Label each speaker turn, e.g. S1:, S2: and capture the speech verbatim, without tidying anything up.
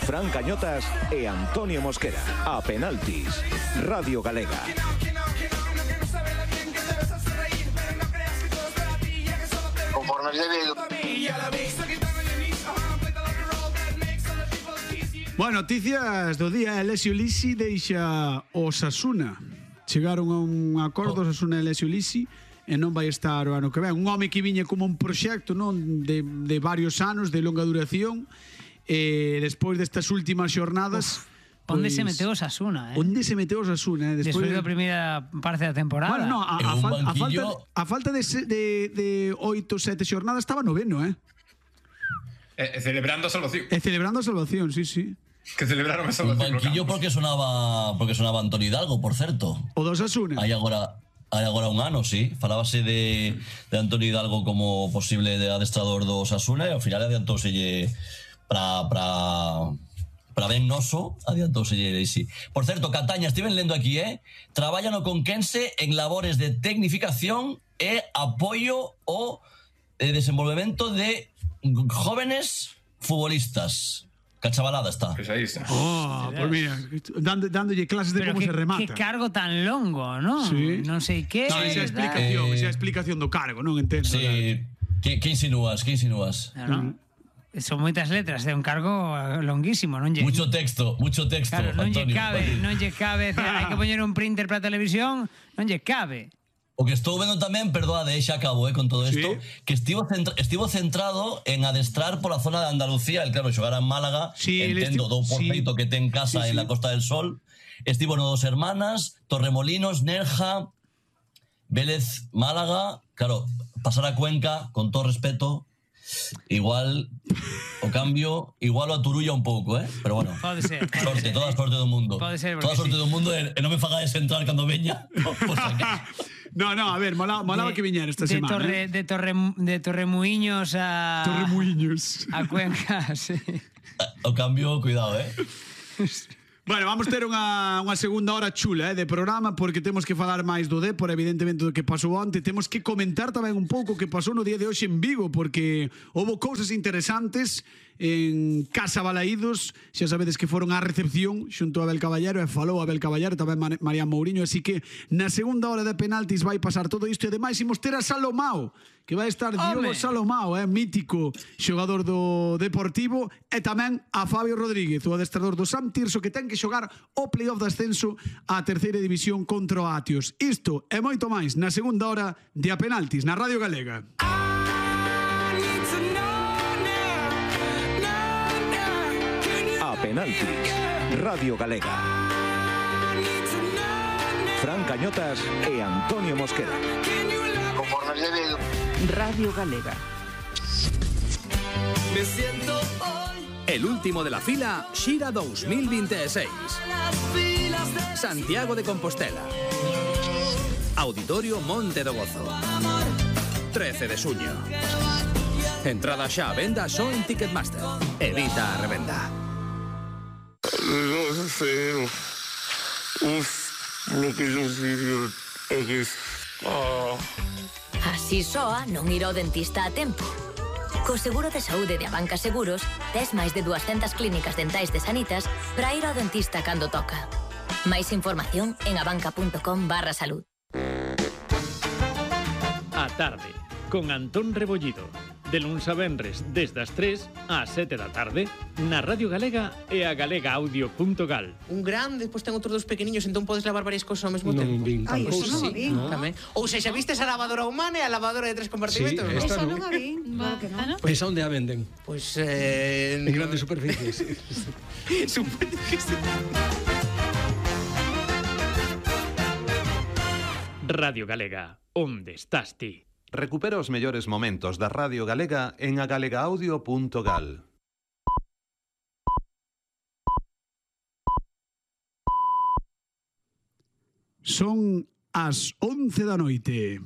S1: Fran Cañotas e Antonio Mosquera. A penaltis. Radio Galega.
S2: Conforme es debido.
S3: Bueno, noticias do día. Alessio Lisi deixa o Osasuna. Chegaron a un acordo oh. Osasuna e Alessio Lisi e non vai estar o ano que ven. Un home que viña como un proxecto, non, de, de varios anos, de longa duración, e despois destas últimas xornadas... Uf.
S4: Onde
S3: pues,
S4: se meteu Osasuna, eh?
S3: Onde se meteu Osasuna, eh?
S4: Despois, Despois da primeira parte da temporada.
S3: Bueno, no, a, a, fal, a, falta, a falta de, de, de oito, sete xornadas estaba noveno, eh?
S5: E, e celebrando a salvación.
S3: E celebrando a salvación, sí, sí.
S5: Que celebraron a salvación.
S6: Un banquillo porque sonaba porque sonaba Antonio Hidalgo, por certo.
S3: O do Osasuna.
S6: Hai agora hai agora un ano, sí. Falábase de, de Antonio Hidalgo como posible de adestrador do Osasuna e ao final adiantouselle para para para ben noso, adiantouselle sí. Por certo, Cataña, estiven lendo aquí, eh? Traballa no Conquense en labores de tecnificación e apoio ao eh, desenvolvemento de jóvenes futbolistas. Cachabalada está.
S5: Pues ahí está.
S3: Oh, pues mira, dando, dándolle clases de
S4: Pero
S3: como
S4: que,
S3: se remata.
S4: Que cargo tan longo, ¿no?
S3: Sí.
S4: Non sei que.
S3: No, esa explicación, eh, esa explicación do cargo, non entendo.
S6: Sí. Que, que insinúas? Que insinúas?
S4: No, no. Son moitas letras de un cargo longuísimo, non lle...
S6: Mucho texto, mucho texto,
S4: claro, non lle
S6: Antonio.
S4: cabe, non lle cabe, hai que poñer un printer para a televisión, non lle cabe.
S6: O que estou vendo tamén, perdoade, xa acabo, eh, con todo isto, sí. Que estivo, centra, estivo centrado en adestrar pola zona de Andalucía, el claro, xogar en Málaga,
S3: sí,
S6: entendo, do por feito sí. Que ten casa sí, sí. En la Costa del Sol, estivo no Dos Hermanas, Torremolinos, Nerja, Vélez, Málaga, claro, pasar a Cuenca, con todo respeto, igual o cambio, igual o aturulla un pouco, eh? Pero bueno,
S4: pode ser, pode
S6: sorte,
S4: ser,
S6: toda a sorte do mundo.
S4: Pode ser,
S6: toda a sorte
S4: sí.
S6: do mundo e, e non me fagades entrar cando veña. Por
S3: No, no, a ver, molaba, molaba que viñera esta
S4: de
S3: semana.
S4: Torre,
S3: eh?
S4: De Torre de Torremuiños a
S3: Torremuiños.
S4: A Cuenca, sí.
S6: O cambio, cuidado, eh.
S3: Bueno, vamos ter unha, unha segunda hora chula, eh, de programa, porque temos que falar máis do Dépor, evidentemente, do que pasou onte. Temos que comentar tamén un pouco o que pasou no día de hoxe en Vigo, porque houve cousas interesantes en Casa Balaídos. Xa sabedes que foron á recepción xunto a Abel Caballero, e falou Abel Caballero, tamén Marián Mourinho, así que na segunda hora de penaltis vai pasar todo isto, e ademais imos ter a Salomao, que vai estar Diogo Salomao, eh, mítico xogador do Deportivo, e tamén a Fabio Rodríguez, o adestrador do Sam Tirso, que ten que xogar o playoff de ascenso á terceira división contra o Atios. Isto e moito máis na segunda hora de A Penaltis na Radio Galega.
S1: A Penaltis, Radio Galega. Fran Cañotas e Antonio Mosquera.
S2: Conforme es debido.
S7: Radio Galega.
S8: Me siento hoy.
S9: El último de la fila, Xira dos mil veintiséis. Santiago de Compostela. Auditorio Monte do Gozo. trece de suño. Entrada xa a venda só en Ticketmaster. Evita a revenda.
S10: No sé. Uf, lo que yo sé é que...
S11: Así soa non ir ao dentista a tempo. Co seguro de saúde de Abanca Seguros, tes máis de dúascentas clínicas dentais de Sanitas para ir ao dentista cando toca. Máis información en abanca.com barra salud.
S12: A tarde, con Antón Rebollido. De luns a venres, desde as tres ás sete da tarde, na Radio Galega e a galega audio punto gal.
S13: Un grande, despois ten outros dos pequeniños, entón podes lavar varias cousas ao mesmo
S14: non
S13: tempo.
S14: Vin,
S13: Ai,
S14: eso
S13: non
S14: sí,
S13: vin,
S14: no.
S13: tamén. Ou sexa, vistes a lavadora humana e a lavadora de tres compartimentos?
S14: Sí, esta
S7: non a vin, claro que non.
S14: Pois onde a venden?
S13: Pois eh
S14: en grandes superficies.
S13: Supoño que sí.
S12: Radio Galega, onde estás ti?
S15: Recupera os mellores momentos da Radio Galega en a galega audio punto gal.
S3: Son as once da noite.